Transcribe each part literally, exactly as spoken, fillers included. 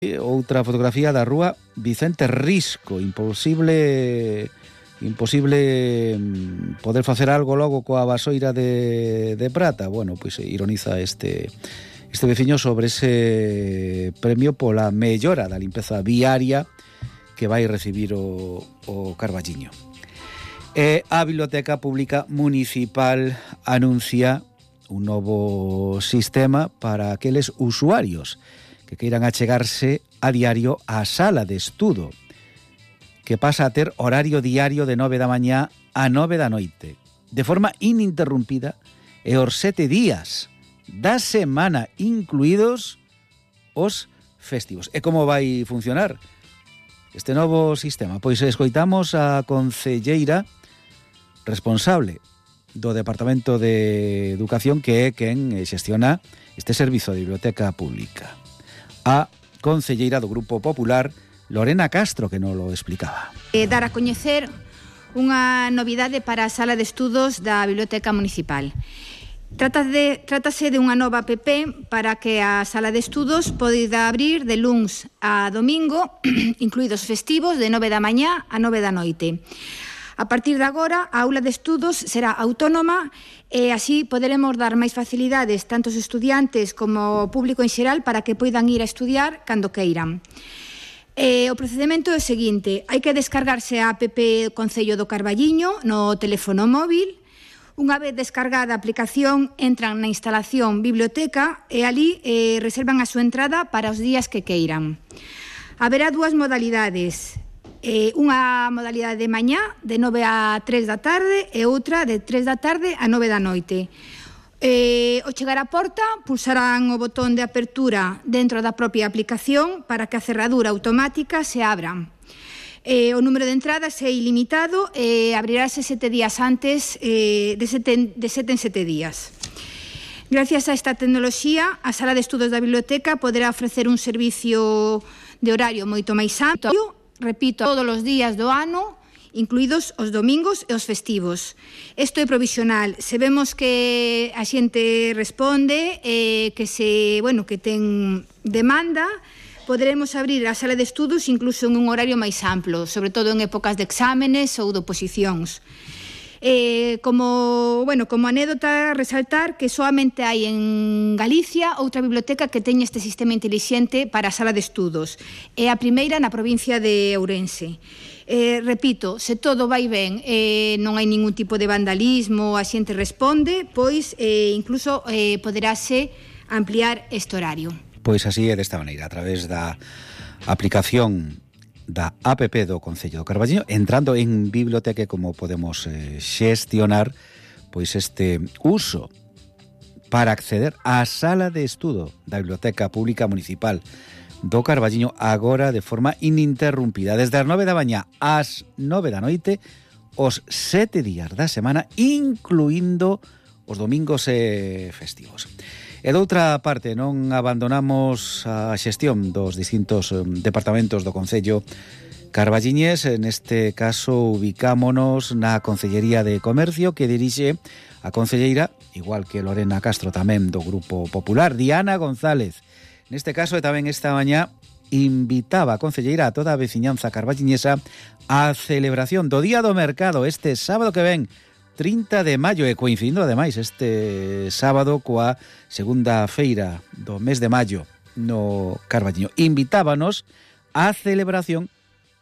Outra fotografía da rúa Vicente Risco. Imposible imposible poder facer algo logo coa vasoira de, de prata. Bueno, pois ironiza este este veciño sobre ese premio pola mellora da limpeza viaria que vai recibir o, o Carballiño. E a Biblioteca Pública Municipal anuncia un novo sistema para aqueles usuarios que queiran achegarse a diario á sala de estudo, que pasa a ter horario diario de nove da mañá a nove da noite, de forma ininterrumpida, e os sete días da semana, incluídos os festivos. E como vai funcionar este novo sistema? Pois escoitamos a concelleira responsable do Departamento de Educación, que é quen xestiona este servizo de biblioteca pública. A concelleira do Grupo Popular, Lorena Castro, que non lo explicaba. Eh, dar a coñecer unha novidade para a sala de estudos da Biblioteca Municipal. Trata de, trátase de unha nova app para que a sala de estudos poida abrir de luns a domingo, incluídos festivos, de nove da mañá a nove da noite. A partir de agora, a aula de estudos será autónoma e así poderemos dar máis facilidades tanto aos estudiantes como ao público en xeral para que poidan ir a estudiar cando queiran. Eh, o procedimento é o seguinte: hai que descargarse a app Concello do Carballiño no teléfono móvil. Unha vez descargada a aplicación, entran na instalación biblioteca e ali eh, reservan a súa entrada para os días que queiran. Haberá dúas modalidades. Eh, unha modalidade de mañá de nove a tres da tarde e outra de tres da tarde a nove da noite. Eh, ao chegar á porta pulsarán o botón de apertura dentro da propia aplicación para que a cerradura automática se abra. Eh, o número de entradas é ilimitado e abrirase sete días antes, eh, de, sete, de sete en sete días. Gracias a esta tecnoloxía, a sala de estudos da biblioteca poderá ofrecer un servicio de horario moito máis amplo, repito, todos os días do ano, incluídos os domingos e os festivos. Isto é provisional. Se vemos que a xente responde, eh, que se, bueno, que ten demanda, poderemos abrir a sala de estudos incluso en un horario máis amplo, sobre todo en épocas de exámenes ou de oposicións. Eh, como, bueno, como anécdota, resaltar que solamente hai en Galicia outra biblioteca que teña este sistema intelixente para a sala de estudos. É a primeira na provincia de Ourense. Eh, repito, se todo vai ben, eh, non hai ningún tipo de vandalismo, a xente responde, pois eh, incluso eh, poderase ampliar este horario. Pois así é desta maneira, a través da aplicación da app do Concello do Carballiño, entrando en biblioteca, como podemos eh, xestionar pois este uso para acceder á sala de estudo da Biblioteca Pública Municipal do Carballiño, agora de forma ininterrumpida, desde as nove da mañá ás nove da noite, os sete días da semana, incluindo os domingos e festivos. E doutra parte, non abandonamos a xestión dos distintos departamentos do Concello carballiñés. Neste caso, ubicámonos na Concellería de Comercio, que dirixe a concelleira, igual que Lorena Castro tamén do Grupo Popular, Diana González. Neste caso, e tamén esta mañá, invitaba a concelleira a toda a veciñanza carballiñesa á celebración do Día do Mercado este sábado que ven, trinta de maio, e coincidindo ademais este sábado coa segunda feira do mes de maio no Carballiño. Invitábanos á celebración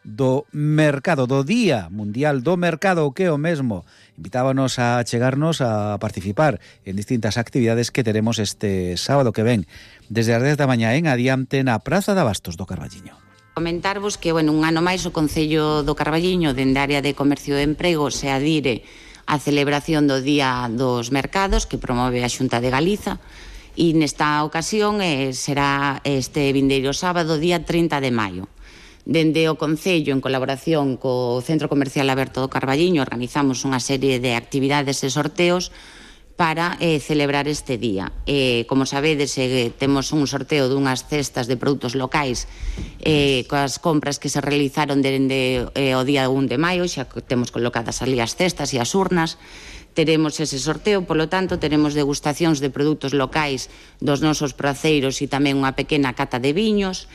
do mercado, do Día Mundial do Mercado, o que é o mesmo. Invitábanos a chegarnos a participar en distintas actividades que teremos este sábado que ven, desde as dez da mañá en adiante na Praza de Abastos do Carballiño. Comentarvos que, bueno, un ano máis o Concello do Carballiño, dende a área de Comercio e Emprego, se adire a celebración do Día dos Mercados que promove a Xunta de Galiza, e nesta ocasión eh, será este vindeiro sábado, día trinta de maio. Dende o Concello, en colaboración co Centro Comercial Aberto do Carballiño, organizamos unha serie de actividades e sorteos para eh, celebrar este día. Eh, como sabedes, eh, temos un sorteo dunhas cestas de produtos locais eh, coas compras que se realizaron dende eh, o día un de maio, xa temos colocadas ali as cestas e as urnas. Teremos ese sorteo, polo tanto, teremos degustacións de produtos locais dos nosos praceiros e tamén unha pequena cata de viños.